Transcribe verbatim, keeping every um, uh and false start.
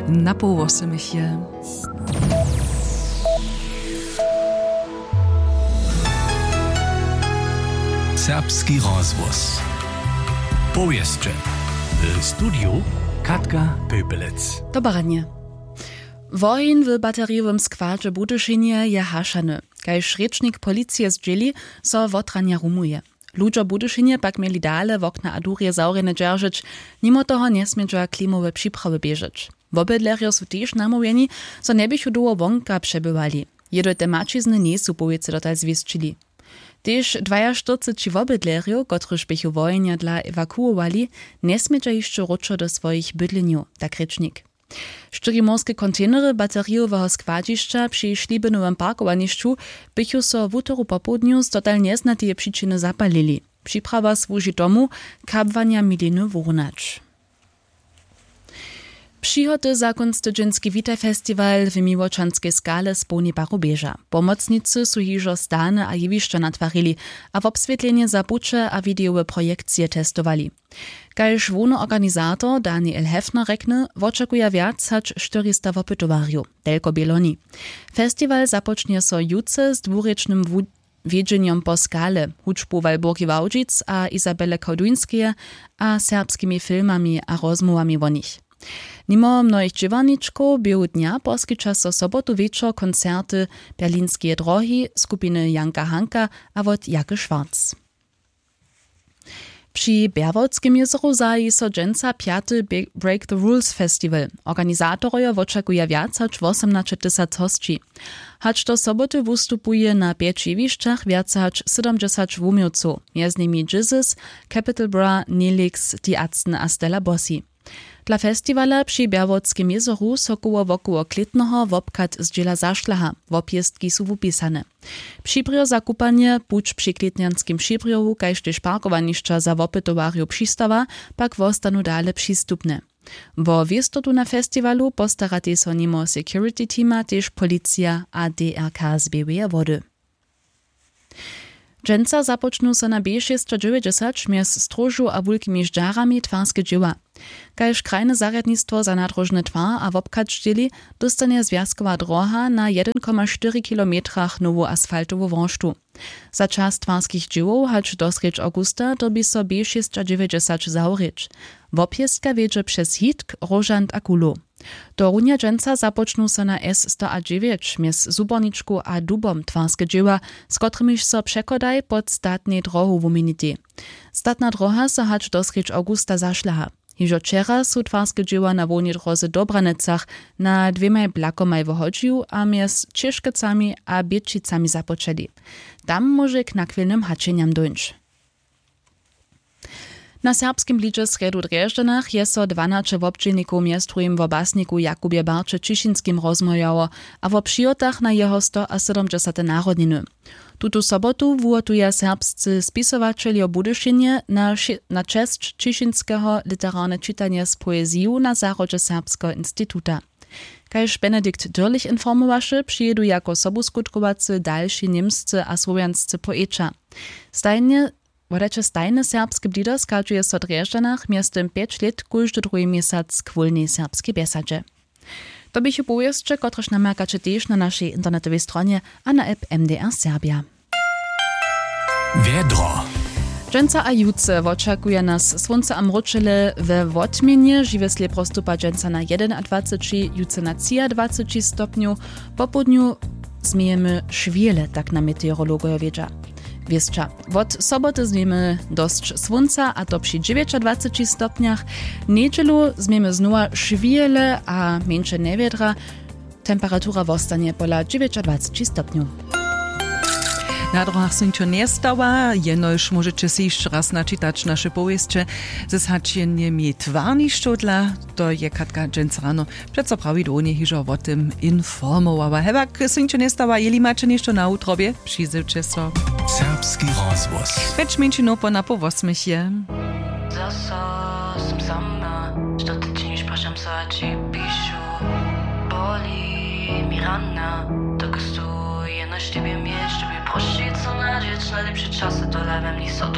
Na poł wosomich je. Serbski rozhłos. Powěsće. W studiju Katka Pöpelec. Dobre ranje. Woheń w baterijowym składźe w Budyšinje je hašany. Kaž rěčnik policije zdźěli, so wotranja rumuje. Ludźo w Budyšinje pak měli dale wokna a durje zawrjene dźeržeć, nimo toho njesmědźa klimowe připrawy běžeć. Wobydlerjo su tež namołwjeni, zo njeběchu dołho wonka přebywali. Jědojte maćizny njejsu powěcy dotal zwěsćili. Tež dwajaštyrceći wobydlerjow, kotryž běchu wohenja dla ewakuowali, njesmědźa hišće wróćo do swojich bydlenjow, tak rěčnik. Štyri morske kontejnery baterijoweho składźišća při Šlibinowym parkowanišću běchu so wutoru popołdnju z dotal njeznateje přičiny zapalili. Připrawa słuži tomu, kabłanja miliny wurnać. Přihoty za kónc tydźenski Witaj Festiwal w Miłočanskej skale z połnej paru běža. Pomocnicy su hižo stany a jewišća natwarili a wobswětlenje za puće a widejowe projekcije testowali. Kaž hłowny organizator Daniel Hefner rjekny, wočakuja wjac hač štyrista wopytowarjow, telko bě loni. Festiwal započnje so jutře z dwurěčnym wu-, wjedźenjom po skale, hudźbu Walburgi Wałdźic a Izabele Koduńskeje a serbskimi filmami a rozmołwami wo nich. Nimo mnohich dźěłarničkow běhu dnja poskića so sobotu wječor koncerty Berlinskeje drohi, skupiny Janka Hanka a wot Jake Schwarz. Při Bjerwotskem jězoru zahaji so dźensa pjaty Be-, Break the Rules Festival. Organizatorojo wočakuja wjac hač wosomnaće tysac hosći. Hač do soboty wustupuje na pjeć jewišćach wjace hač sydomdźesać wuměłcow, mjez nimi Jizzes, Capital Bra, Nelix, The Atzen a Stella Bossi. Dla festiwala při Bjerwotskem jězoru so koło wokoło klětneho wobchad zdźěla zašlaha, wobjěztki su wupisane. Přibrjo za kupanje, puć při klětnjanskim přibrjohu kaž tež parkowanišća za wopytowarjow přistawa pak wostanu dale přistupne. Wo wěstotu na festiwalu postaratej so nimo security teama tež policija a D R K z Běłeje Wody. Dźensa započnu so na B šěsćadźewjećdźesać mjez Stróžu a Wulkimi Ždźarami twarske dźěła. Kaž krajne zarjadnistwo za nadróžny twar a wobchad zdźěli, dóstanje zwjazkowa dróha na jedyn koma štyri kilometrach nowu asfaltowu worštu. Za čas twarskich dźěłow hač do srjedź awgusta dyrbi so B šěsćadźewjećdźesać zawrěć. Wobjězka wjedźe přez Hitk, Róžant a Kulow. Tohorunja dźensa započnu so na S sto a dźewjeć mjez Zuborničkow a Dubom twarske dźěła, z kotrimiž so přechodaj pod statnej dróhu wuměnitej. Statna dróha so hač do srjedź awgusta zašlaha. Hižo wčera su twarske dźěła na hłownej dróze w Dobranecach na dwěmaj blakomaj w Hodźiju a mjez Ćěškecami a Běćicami započeli. Tam móže k nachwilnym hačenjam dóńć. Na serbskim blidźe w srjedu w Drježdźanach je so dwanaće wobdźělnikow mjez druhim wo basniku Jakubje Barće Ćišinskim rozmołwjało a wo přihotach na jeho stoasydomdźesate narodniny. Tutu sobotu wuhotuja serbscy spisowaćeljo w Budyšinje na ši-, na česć Ćišinskeho literarne čitanje z poeziju na zahrodźe Serbskeho instituta. Kaž Benedikt Dürlich informowaše, přijědu jako sobuskutkowacy dalši němscy a słowjanscy poeća. Stajnje Wodajće stajne serbske blido schadźuje so w Drježdźanach mjeztym pjeć lět kóždy druhi měsac k wólnej serbskej bjesadźe. To běchu powěsće, kotrež namakaće tež na našej internetowej stronje a na app M D R Serbja. Wjedro. Dźensa a jutře wočakuje nas słónce a mróčele we wotměnje, žiwje slěpro stupa dźensa na jedynadwaceći, jutře na třiadwaceći stopnjow, popołdnju změjemy šwěle, tak nam meteorologojo wědźa. Wěsća. Wot soboty změjemy dosć słónca, a to při dźewjećadwaceći stopnjach. Njedźelu změjemy znowa šwěle a mjeńše njewjedra. Temperatura wostanje pola dźewjećadwaceći stopnjow. Na dróhach sej ničo njestała, jenož móžeće sej hišće raz načitać naše powěsće ze zhaćenjemi twarnišćow dla. To je Katka dźensa rano přeco prawidłownje hižo wo tym informowała. Hewak sej ničo njestała, jeli maće něšto na wutrobje, přizywće so. Serbski rozhłos. Pjeć mjeńšinow po napoł wosmich je. Zaso sym sama, što ty činiš, prašam so a ći pišu. Boli mi rana, dokelž tu jenož tebje měš, to bi prošicu nadźeć, najlěpše časy tola we mni so tu